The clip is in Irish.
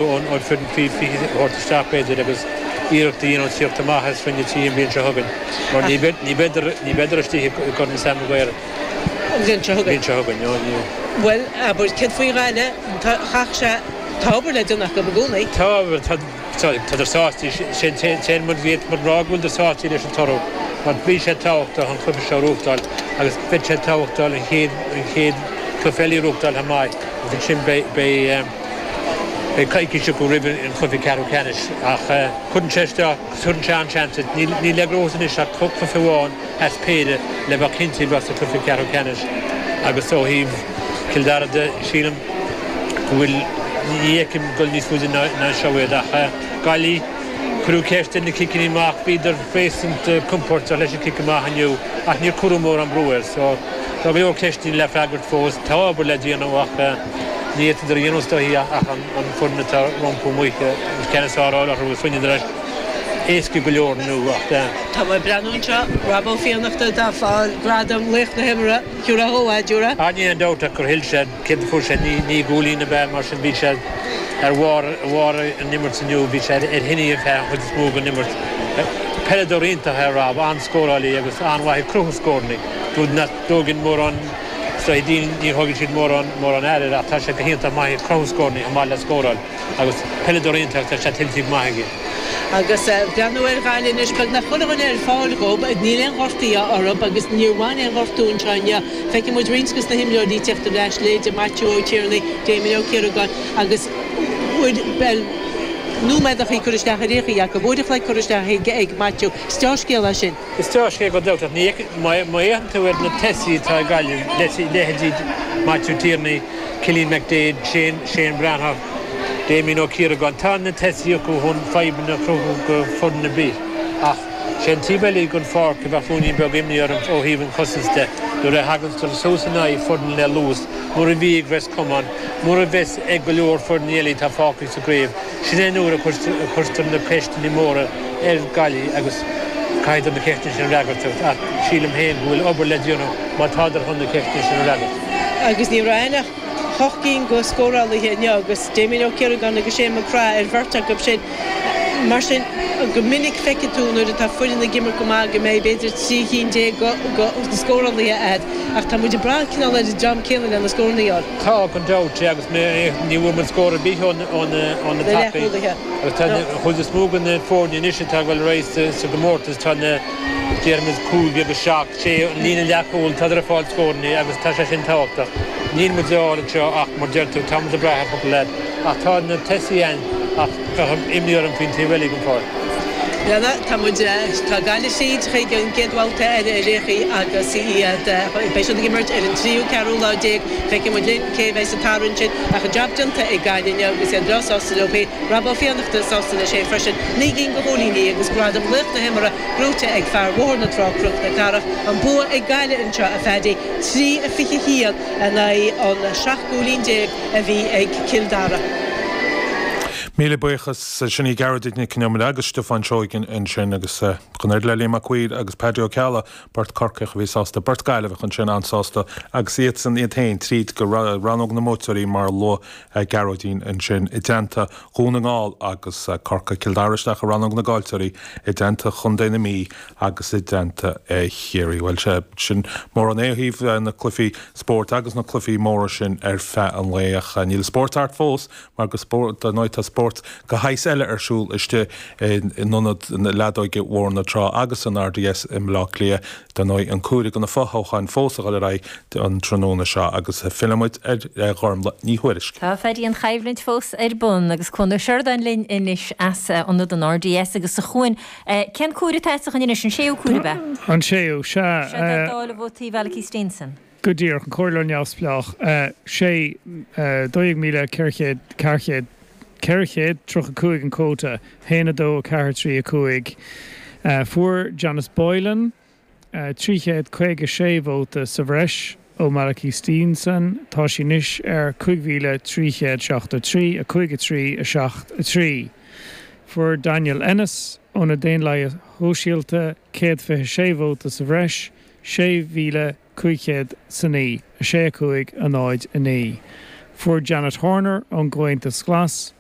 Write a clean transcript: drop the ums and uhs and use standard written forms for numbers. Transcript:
An foireann faoi 20 a thabhairt isteach, b'fhéidir, agus iarracht a dhéanamh tíocht amach as Roinn 3 an bhliain seo chugainn, mar ní bheidar istigh i gCorn Sam Maguire an bhliain seo chugainn. Bhliain seo chugainn, no, ní. Bhuel, abair, céard faoi Ghaillimh? Chaithfeadh sé, tá obair le déanamh acu i gcónaí. Tá, tá, tádar sásta, sé an t-aon rud a bhféadfadh muid rá go bhfuileadar sásta leis an toradh, mar bhí sé tábhachtach an cluiche seo a ghnóthachtáil agus beidh sé tábhachtach an chéad, an chéad cluiche eile a ghnóthachtáil chomh maith agus ansin beidh, beidh. Beidh coicís acu roimh an chluiche ceathrú ceannais ach cuireann sé isteach, tugann sé an-seans duit. Níl le gnóthú anois ach cluiche amháin as péire le bheith cinnte a bheith sa chluiche ceathrú ceannais agus ó thaobh Chill Dara de, sílim go bhfuil, ní fheicim dul níos faide ná seo iad ach Gaillimh, cuireadh ceist ar na ciceanna amach, bhíodar réasúnta compordach leis an cic amach inniu ach níor cuireadh mórán brú air so tá go leor ceisteanna le freagairt fós. Tá obair le déanamh ach. Ní fhéadfadar a dhéanamh is dóichí ach an foireann atá rompu amuigh an ceann is fearr a fháil orthu agus rinneadar é éasca go leor inniu ach. Tá mé ag breathnú anseo, Rob Ó Fiannachta atá ag fáil gradam Laoch na hImeartha, thiúrfá dhó é, dtiúrfá? Ah níl aon dabht ach gur thuill sé, céard a fuair sé, naoi gcúilín ab ea, mar sin bhí sé ar bharr bharr an imirt inniu, bhí sé ar thine ar feadh an chuid is mó den imirt. Peileadóir iontach é Rob, an-scórálaí agus an-mhaith ag cruthú scóranna, rud nach dtógann mórán So daoine, ní thógann siad mórán, mórán aire air ach tá sé go hiontach maith ag cruthú scóranna chomh maith le scóráil agus peileadóir iontach, tá sé tuillte go maith aige. Agus breathnú ar Ghaillimh anois, beagnach chuile dhuine ar fáil dhób, níl aon ghortaithe orthu agus níor bhain aon ghortú anseo inniu. Feicfidh muid roinnt dos na himreoirí ag tíocht ar ais, leithéide Maitiú Ó Tiarnaigh, Damien Ó Ciaragáin agus uair, bhuel, nóiméadachaí curtha isteach ar aon chaoi acu, uair a chloig curtha isteach ag Maitiú. Is dea-scéal é sin. Is dea-scéal gan dabht ach ní má fhéachann tú ar na tosaithe atá ag Gaillimh, leithéidí Maitiú Tierney, Cillian McDaid, Shane Shane Breathnach, Damien Ó Ciaragáin, tá na tosaithe acu chun fadhbanna a chruthú do foireann ar bith ach sé an taobh eile den pháirc a bheadh ruainnín beag imní orm ó thaobh an chosaint de nuair a thagann suas in aghaidh foireann le luas, mar a bhí ag Ros Comáin, mar a bheas ag go leor foirne eile atá fágtha sa gcraobh. Sin é an uair a chuirtear na ceisteanna móra ar Ghaillimh agus caithfidh na ceisteanna sin a fhreagairt ach sílim féin go bhfuil obair le déanamh má tádar chun na ceisteanna sin a fhreagairt. Agus ní raibh ann ach hocht gcinn de scórálaithe inniu agus Damien Ó Ciaragáin agus Shane McGrath ar bheirt acu sin. Mar sin, go minic feicfidh tú nuair atá foireann ag imirt go maith go mbeidh b'fhéidir 13 chinn de na scórálaithe agat ach tá muid ag brath cineál ar an dream céanna le na scóranna a fháil. Tá, gan dabht, agus ní bhfuair muid scór ar bith ó na tacaí. Agus tá an chuid is mó de na foirne anois atá ag dul ar aghaidh sa gcomórtas, tá na, déarfaimis, cúig agus seacht, sé, an líne leathchúil, tádar ag fáil scóranna agus tá sé sin tábhachtach. Níl muid á fháil anseo ach, mar deir tú, tá muid ag brath ar chúpla leaid. Ach tá na tosaithe ann ach bheadh imní orm faoin taobh eile den pháirc. Bhuel, tá muid, tá Gaillimh tríd chuig an gcéad bhabhta eile ar aon chaoi agus iad, beidh siad ag imirt ar an tríú, ceathrú lá déag. Feicfidh muid linn cé a bheidh sa tarraingt sin ach an jab déanta ag Gaillimh inniu agus iad breá sásta leo féin. Rob Ó Fiannachta sásta leis féin freisin. 9 gcinn de chúilíní agus gradam Laoch na hImeartha gnóite ag fear Bhóthar na Trá, Cnoc na Cathrach. An bua ag Gaillimh anseo, a Phaddy, 3-21 in aghaidh an 17 gcúilín a bhí ag Cill Dara. Míle buíochas. Sin í Gearóidín Nic Con Iomaire agus Stiofán Seoighe ansin agus chun oiread le Liam Mac Uidhir agus Paddy Ó Ceallaigh, beirt Corcaíoch a bhí sásta, beirt Gaillimheach ansin an-sásta agus iadsan iad féin tríd go rannóg na mbuaiteoirí mar a luaigh Gearóidín ansin i dteannta Dhún na nGall agus Corcaigh, Cill Dara isteach i rannóg na gcaillteoirí i dteannta Chontae na Mí agus i dteannta Chiarraí. Bhuel, sea, sin mórán é ó thaobh na cluichí spóirt agus na cluichí móra sin ar feadh an lae ach níl an spórt thart fós mar go dar ndóigh tá spórt de shaghas eile ar siúl istigh in ionad na leadóige Bhóthar na Trá agus san RDS i mBleá Cliath. Dar ndóigh an comhaireamh do na fothoghcháin fós a dhul ar aghaidh an tráthnóna seo agus filleann muid ar Ghormlaith Ní Thuairisg. Tá a Phaddy, an choimhlint fós ar bun agus Cuan Ó Seireadáin linn anois as ionad an RDS agus a Chuain, cén comhaireamh atá sa choinne anois, an séú comhaireamh ab ea? An séú, sea. Seo é dáileadh vótaí Mhalachy Steenson. Go díreach, an Comhairleoir Neamhspleách, 6, 12,400, 400, 435 an cuóta, 1, 2, 4, 3, 5. Fuair Janice Boylan 356 vóta sa bhreis ó Malachy Steenson, tá sí anois ar 5,373, 5, 3, 7, 3. Fuair Daniel Ennis ó na Daonlathaithe Shóisialta 126 vóta sa bhreis, 6,509, 6, 5, 0, 9. Fuair Janet Horner ón gComhaontas Glas.